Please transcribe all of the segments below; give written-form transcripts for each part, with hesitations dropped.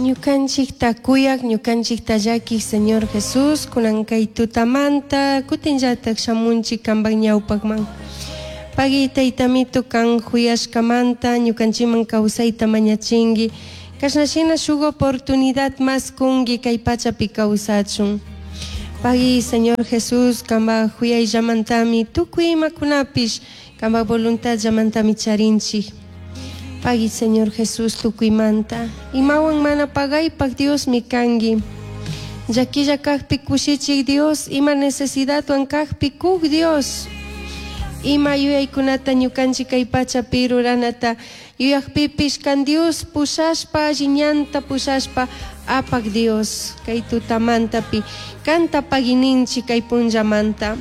Ñukanchikta kuyak, ñukanchikta llakiq Señor Jesús, kunan kay tutamanta kutinllatak shamunchik kanpak ñawpakman. Pagui taytamito kan juyashkamanta ñukanchikman kawsayta mañachinki. Kashna shina shuk oportunidad mas kunki kay pachapi kawsachun. Pagui Señor Jesús kanpak juyayllamantami tukuy imakunapish kanpak voluntadllamantami charinchik. Pagui Señor Jesús tukuymanta. Imawan mana pagaypak Diosmi kanki. Llaquilla kajpi kushichik Dios, ima necesidadwan kajpi kuk Dios. Ima yuyaykunata ñukanchik kay pachapi ruranata yuyakpipish kan Dios pushashpa alli ñanta pushashpa apak Dios kay tutamantapi kanta paguininchik kay punllamanta.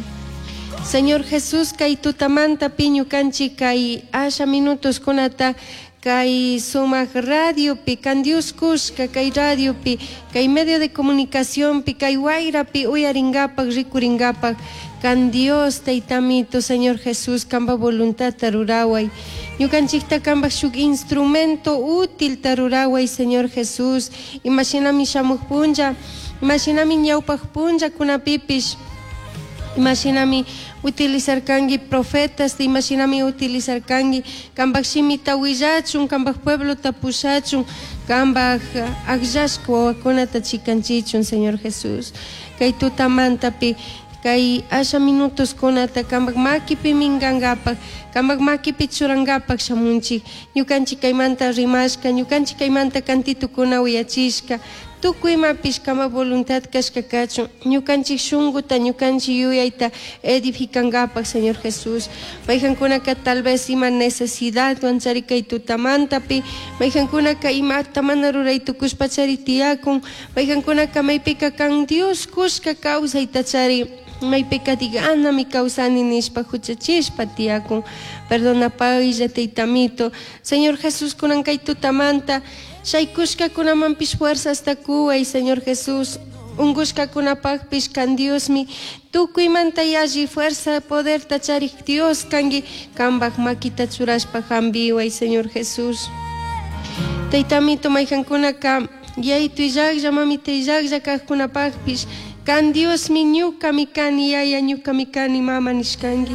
Señor Jesús kay tutamantapi ñukanchik kay asha minutoskunata kay sumak radiopi kan Dios kushka kay radiopi kay medio de comunicacionpi kay wayrapi uyarinkapak rikurinkapak kan Dios taytamito Señor Jesús kanpa voluntadta ruraway ñukanchikta kanpak shuk instrumento útilta ruraway Señor Jesús. Imashinami shamuq punlla imashinami ñawpaq punllakunapipish imashinami utilizarkanki profetas imashinami utilizarkanki kanpak shimita willachun kanpak pueblota pushachun kanpak akllashka wawakunata chikanchichun Señor Jesús. Kay tutamantapi kay asha minutoskunata kanpak makipi minkankapak kanpak makipi churankapak shamunchik. Ñukanchik kaymanta rimashka ñukanchik kaymanta kantitukuna uyachishka tukuy imapish kanpak voluntad kashka kachun ñukanchik shunkuta ñukanchik yuyayta edificankapak Señor Jesús. Mayjankunaka tal vez ima necesidadwan chari kay tutamantapi mayjankunaka imata mana ruray tukushpa chari tiyakun mayjankunaka maypika kan Dios kushka kawsayta chari maypika diganami kawsani nishpa huchachishpa tiyakun. Perdonapaylla taytamito Señor Jesús kunan kay tutamanta shaykushkakunamanpish fuerzasta kuway Señor Jesús. Unkushkakunapakpish kan Diosmi. Tukuymanta yalli fuerza poderta charik Dios kanki kanpak makita churashpa hampiway Señor Jesús. Taytamito mayjankunaka yaytu illaklla mamita illaklla kajkunapakpish kan Diosmi ñukami kani yaya ñukami kani mama nishkanki.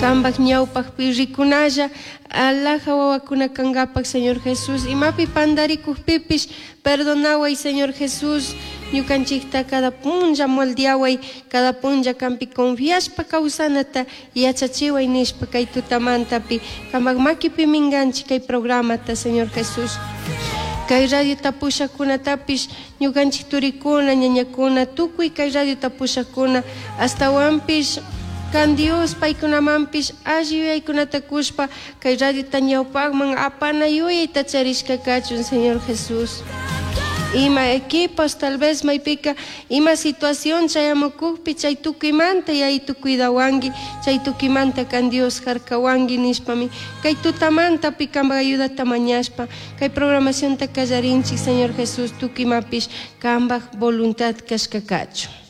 Kanpak ñawpakpi rikunalla alaja wawakuna kankapak Señor Jesús. Imapi pandarikukpipish perdonaway Señor Jesús. Ñukanchikta cada punlla moldeaway cada punlla kanpi confiashpa kawsanata yachachiway nishpa kay tutamantapi kanpak makipi minkanchik kay programata Señor Jesús. Kay radio tapushakunatapish ñukanchik turikuna ñañakuna tukuy kay radio tapushakuna astawanpish kan Dios paykunamanpish alli yuyaykunata kushpa kay radiota ñawpakman apana yuyayta charishka kachun Señor Jesús. Ima equipos tal vez maypika ima situación chayamukukpi chay tukuymanta yaytu cuidawanki chay tukuymanta kan Dios harkawanki nishpami kay tutamantapi kanpak ayudata mañashpa kay programacionta kallarinchik Señor Jesús tukuy imapish kanpak voluntad kashka kachun.